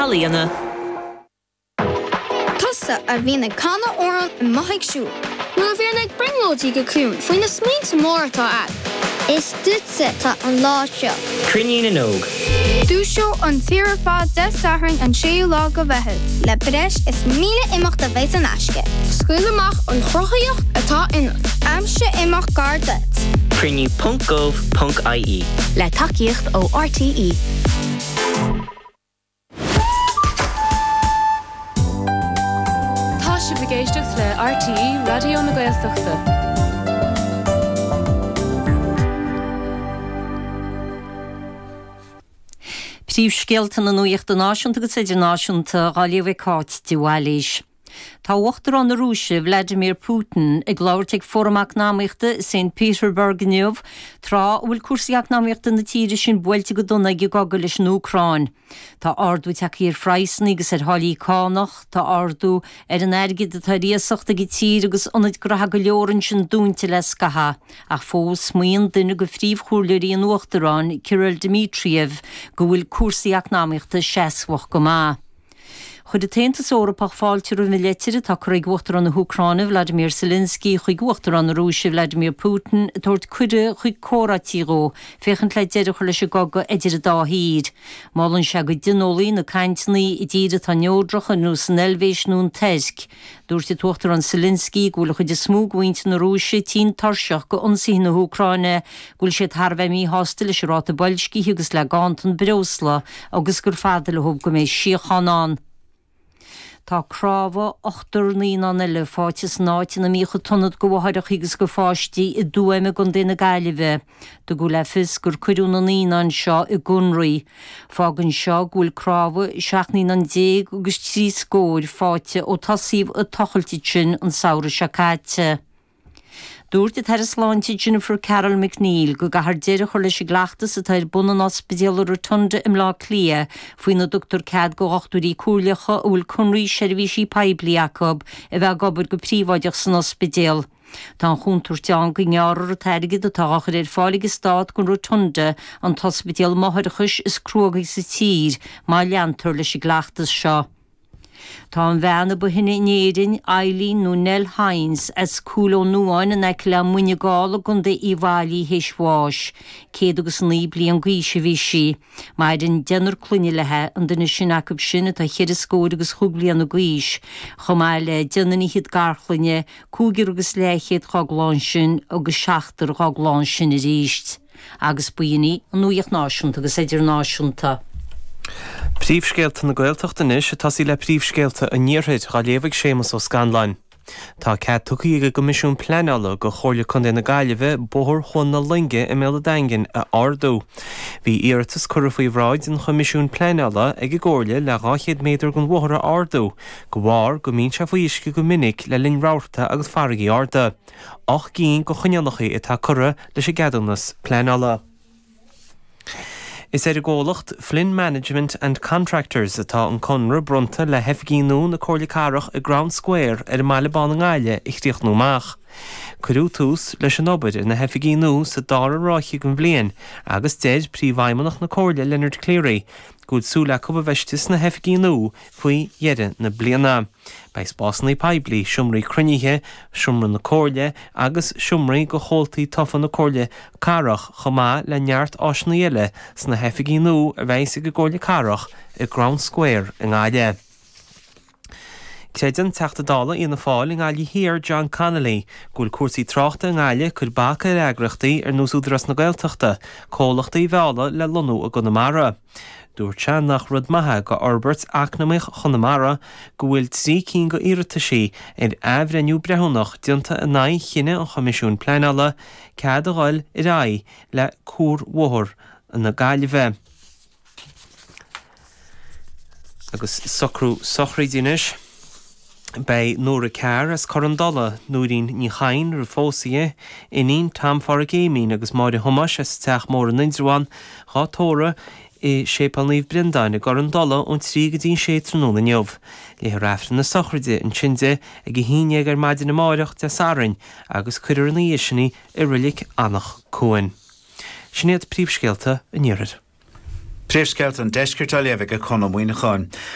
Ealaíona. Tusa a bhíonn ag canadh amhrán amuigh ag siúl. Nó a bhíonn ag brionglóidí go ciúin faoi na smaointe móra atá a'd. Is duitse atá an lá seo. Cruinniú na nÓg. Dúiseoidh an tír ar fad Dé Sathairn an 6ú lá go Mheitheamh. Le breis is 1,000 imeacht a bheidh in aisce. Scaoil amach an chruthaíocht atá ionat. Aimsigh imeacht gar duit. Cruinniú ponc gov ponc ie. Le tacaíocht ó RTÉ. Tá sibh ag éisteacht le RTÉ Raidió na Gaeltachta. Príomhscéalta na nuachta náisiúnta agus idirnáisiúnta á léamh ag Cáit de Bhailís. Tá Uachtarán na Rúise, Vladimir Putin, ag labhairt ag Fóram Eacnamaíochta i Saint Peterburg inniu, tráth a bhfuil cúrsaí eacnamaíochta na tíre sin buailte go dona ag an gcogadh leis an Úcráin. Tá ardú tagtha ar phraghsanna agus ar tháillí cánach, tá ardú ar an airgead atá ar iasacht ag an tír agus ionaid graithe go leor ansin dúnta le scaitheamh. Ach fós, maíonn duine de phríomhchomhairleoirí an Uachtaráin, Kirill Dmitriev, go bhfuil cúrsaí eacnamaíochta seasmhach go maith. Chuir an tAontas Eorpach fáilte roimh an leitir atá curtha ag Uachtarán na hÚcráine, Vladimir Zelensky, chuig Uachtarán na Rúise, Vladimir Putin, ag tabhairt cuireadh chuig comhráití dhó féachaint le deireadh a chur leis an gcogadh idir an dá thír. Molann sé go dtionólfaí na cainteanna i dtír atá neodrach ar nós an Eilvéis nó an Tuirc. Dúirt an tUachtarán Zelensky go bhfuil an chuid is mó de mhuintir na Rúise tinn tuirseach d'ionsaithe na hÚcráine, go bhfuil siad thar a bheith míshásta leis an ráta boilscithe agus le ganntan breosla agus gur fada leo go mbeidh síocháin ann. Tá cnámha ochtar naíonán eile faighte san áit ina mbíodh an t-ionad do mháithreacha agus do pháistí i dTuaim i gContae na Gaillimhe. Tugadh le fios gur cuireadh na naíonáin seo i gConraí. Fágann seo go bhfuil cnámha 17 naíonán agus trí scóir faighte ó tosaíodh an tochailt ansin an samhradh seo caite. Dúirt an tAire Sláinte Jennifer Carroll MacNeill go gcaithfear deireadh a chur leis an gcleachtas atá ar bun in Ospidéal an Rotunda i mBleá Cliath faoina dtugtar cead do dhochtúirí comhairleacha a bhfuil conraí seirbhísí poiblí acu a bheith ag obair go príobháideach san ospidéal. Tá an chontúirt ann go ngearrfar an t-airgead atá á chur ar fáil ag an Stát don Rotunda, an t-ospidéal máithreachais is cruógaí sa tír, má leantar leis an gcleachtas seo. Tá an bhean a ba shine in Éirinn, Eileen nó Nell Hynes, as Cúil Ó Nuáin in aice le Muine Gall i gContae Uíbh Fhailí théis bháis. 109 bliain d'aois a bhí sí. Maireann deichniúr clainne léi, an duine is sine acu sin atá cheithre scór agus chúig bliana d'aois, chomh maith le deichniúr fhichead garchlainne, cúigear agus leathchéad dhá gclann sin agus seachtar dhá gclann sin arís. Agus b'in í an nuacht náisiúnta agus idirnáisiúnta. Príomhscéalta na Gaeltachta anois, ag tosaí le príomhscéalta an Iarthair, á léamh ag Séamus Ó Scanláin. Tá cead tugtha ag an gCoimisiún Pleanála do Chomhairle Contae na Gaillimhe Bóthar Chuan na Loinge i mBéal an Daingin a ardú. Bhí iarratas curtha faoi bhráid an Choimisiúin Pleanála ag an gComhairle le 200 méadar den bhóthar a ardú, de bharr go mbíonn sé faoi uisce go minic le linn rabharta agus farraigí arda. 8 gcinn de choinníollacha atá curtha leis an gceadúnas pleanála. Is ar an gcomhlacht Flynn Management and Contractors atá an conradh bronnta le hoifigí nua na Comhairle Cathrach i gCrown Square ar an mBaile Bán i nGaillimh a chríochnú amach. Cuireadh tús leis an obair ar na hoifigí nua sa dara ráithe den bhliain agus deir Príomhfheidhmeannach na Comhairle Leonard Cleary go bhfuil súil acu a bheith istigh sna hoifigí nua faoi dheireadh na bliana. Beidh spásanna poiblí, seomraí cruinnithe, seomra na Comhairle agus seomraí do chomhaltaí tofa na Comhairle Cathrach chomh maith le neart áiseanna eile sna hoifigí nua a bheas ag an gComhairle Cathrach i gCrown Square i nGaillimh. Creideann Teachta Dála Fhianna Fáil i nGaillimh Thiar John Connolly go bhfuil cúrsaí tráchta i nGaillimh ag cur bac ar eagraíochtaí ar nós Údarás na Gaeltachta comhlachtaí a mhealladh le lonnú i gConamara. Dúirt sé nach rud maith é do fhorbairt eacnamaíoch Chonamara go bhfuil 3 cinn de iarrataisí ar athbhreithniú breithiúnach déanta in aghaidh chinneadh an Choimisiúin Pleanála cead a dhul ar aghaidh le Cuarbhóthar na Gaillimhe. Agus socrú sochraide anois. Beidh Nóra Carr as Corr an Dola, Nóirín Ní Chadhain roimh phósadh di, iníon Tom Pháraic Éimín agus Máire Thomáis as an Teach Mór in Indreabhán, dhá tórramh i Séipéal Naomh Breandáin i gCorr an Dola ón 3 go dtí an 6 tráthnóna inniu. Léifear Aifreann na sochraide ansin di ag 11 ar maidin amáireach, Dé Sathairn, agus cuirfear ina dhiaidh sin í i Reilig Anach Cuain. Sin iad príomhscéalta an Iarthair. Príomhscéalta an Deiscirt á léamh ag Conn Ó Muíneacháin.